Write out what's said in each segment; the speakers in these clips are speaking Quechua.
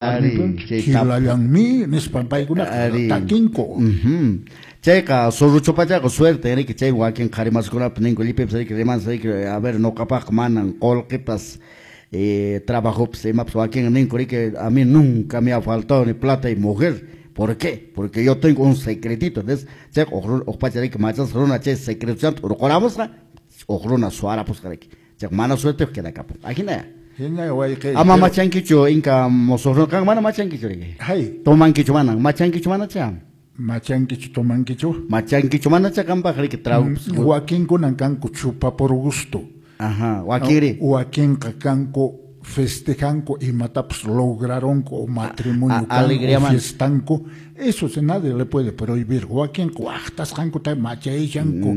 Kilallanmi nispan paykunaqa takinku. Chayqa surruchupachaqa suerte riki chay wakin qharimaskunapas ninku llipipas riki rimansi riki a ver nuqapaqqa manan qullqipas trabajopas imapas wakin ninku riki a mí nunca me ha faltado ni plata y mujer. ¿Por qué? Porque yo tengo un secretito. Entonces, chayqa huk pacha riki machasqa runa chay secretochanta hurquramusqa huk runa suwarapusqa riki. Chayqa mana suerteqa quedakapun. Ajina. Ama machankichu inka musuq runa qan mana machankichu riki. Hay. Tomankichu mana, machankichu manacha. Machankichu tomankichu. Machankichu manacha qanpaq riki trago. Wakinkunan kanku chupa por gusto. Ajá, wakinri. Wakinqa kanku festejanku imatapas lograronku o matrimonio kanku, fiestanku. Eso se nadie le puede prohibir. Wakinqa waqtasqankuta machayshanku.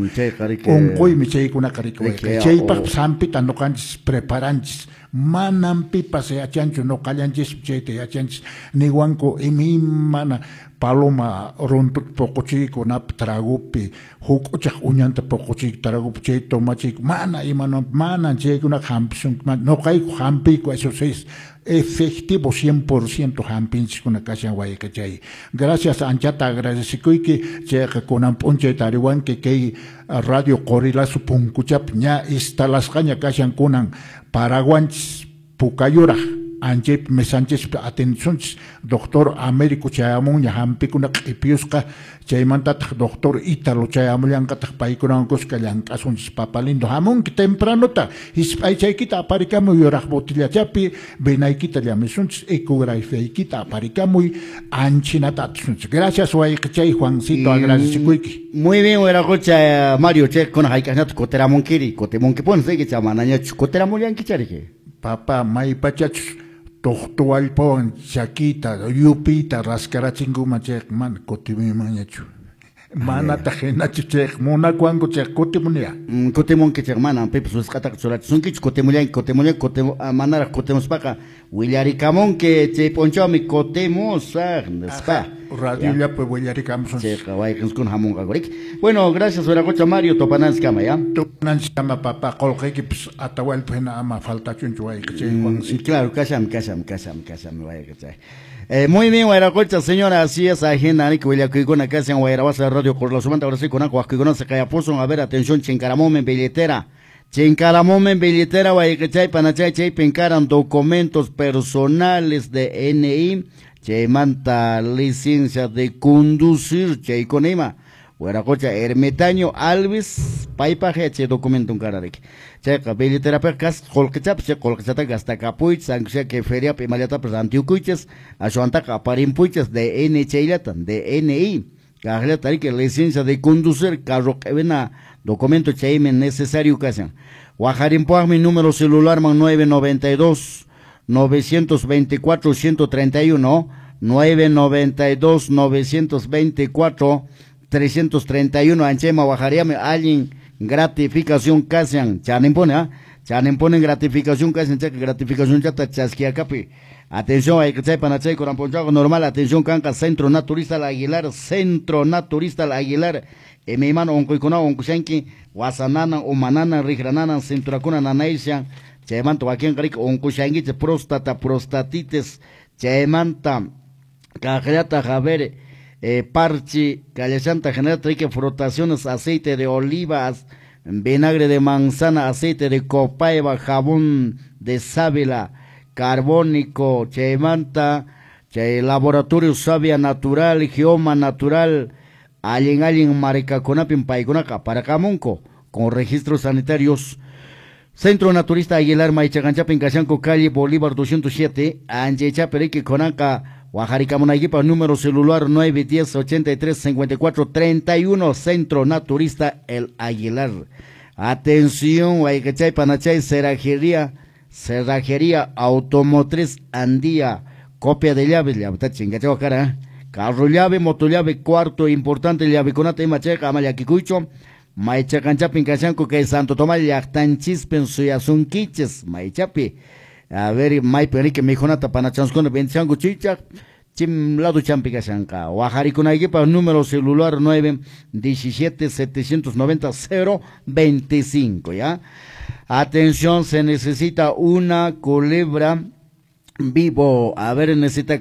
Unquymi chaykunaqa riki. Chaypaqpas hampita nuqanchis preparanchis. Manam pipas yachanchu nuqallanchis chayta yachanchis. Niwanku imaymana paloma runtuta puquchiyku nap tragopi huk'uchaq uñanta puquchiyku tragopi chay tomachiyku mana imana manan chaykunaqa hampisunku nuqayku hampiyku eso es efectivo 100% hampinchiskuna kashan wayqichay. Gracias anchata agradecikuyki chayqa kunan p'unchay tariwanki kay radio Qorilasu punkuchapi ña instalasqaña kashan kunan Paraguanchis Pukayuraq anchaypi mesanchispi atendisunchis doctor Américo chayamunña hampikuna q'ipiyusqa chaymantataq doctor Ítalo chayamullanqataq paykunawan kuska llank'asunchis papalindo hamunki tempranota hisp'aychaykita aparikamuy yuraq botillachapi venaykita llamisunchis ecografiaykita aparikamuy anchinata atisunchis. Gracias wayqichay Juancito, agradecikuyki. Muy bien, wiraqucha Mario, chay kuna hayk'aqñataq kutiramunkiri, kutimunkipuni riki chay manañachu kutiramullankicha riki. Papá, maypachachus tuqtuwallpawan chakita yupiyta raskarachinkuman chayqa mana kutimunmanñachu. Manataq hinachu chayqa munakuwanku chayqa kutimunya. Kutimunki chayqa manan pipas wisq'ataqa churachisunkichu kutimullanki kutimullanki manaraq kutimuspaqa willarikamunki chay p'unchawmi kutimusaq nispa. Radiollapi willarikamusun. Chayqa wayqinchikuna hamunqaku riki. Bueno, gracias wiraqucha Mario, tupananchiskama ya. Tupananchiskama papá, qullqiykipas Atahualpa hina ama faltachunchu wayqichay Juancito. Claro, kasham kasham kasham kasham wayqichay. Muy bien, wayraqucha, señora, así es, ajena, riki willakuykuna kashan wayrawasa radio Qorilasumanta, ahora sí, kunanqa waqkuykuna se qayapusun, a ver, atención, chinkaramumen billetera. Chinkaramumen billetera, wayqichay, panachay, chaypin karan documentos personales de NI, chaymanta licencia de conducir, chaykuna ima. Wiraqucha Ermitaño Alves, paypaq chay documento kara riki. Chayqa billeterapiqa kasqa qullqichapas, chay qullqichataqa gastakapuychis, aunque sea que feriapi imallatapas rantiukuychis, ashwantaqa aparimpuychis DN chayllata, DNI. Kaqllata riki licencia de conducir, carro q'ipina documento chaymi necesario kashan. Wajarimpuaqmi número celularman 992 924 131, 992 924 331, anchayma wajariami allin gratificación kashan, chanimpuni, ¿ah? Chanimpuni gratificación kashan, chayqa gratificación chata chaskiakapi. Atención, ayqichay panachay kunan p'unchawqa normal, atención kanqa Centro Naturista El Aguilar, Centro Naturista El Aguilar, imaymana unquykunawan unqushanki, wasananan, umananan, riqrananan, cinturakuna nanayshan, chaymanta wakinqa riki unqushankichik próstata, prostatitis, chaymanta kaqllataq a ver, parche, kallashanta general riki frotaciones, aceite de olivas, vinagre de manzana, aceite de copaiba, jabón de sábila, carbónico, chaymanta, chay laboratorio savia natural, geoma natural, allin allin marikakunapin paykunaqa aparakamunku con registros sanitarios. Centro Naturista Aguilar Maychaqanchapin kashanku calle Bolívar 207, anchaychapi riki kunanqa wajarikamunaykipaq número celular 910 83 54 31, Centro Naturista El Aguilar. Atención, wayqichay panachay, cerrajería, cerrajería automotriz Andía, copia de llaves, llaveta chingachawa cara, carro llave, moto llave, cuarto importante llavekunata ima chayqa ama llakikuychu. Maychaqanchapin kashanku kay Santo Tomás llaqtanchispin suyasunkichis maychapi. A ver, maypi riki mikhunata panachanskuna vendishanku chichaq, chim lado champi kashanqa. Wajarikunaykipaq número celular 9 17 790 0 25, ¿ya? Atención, se necesita una culebra Vivo. A ver, necesita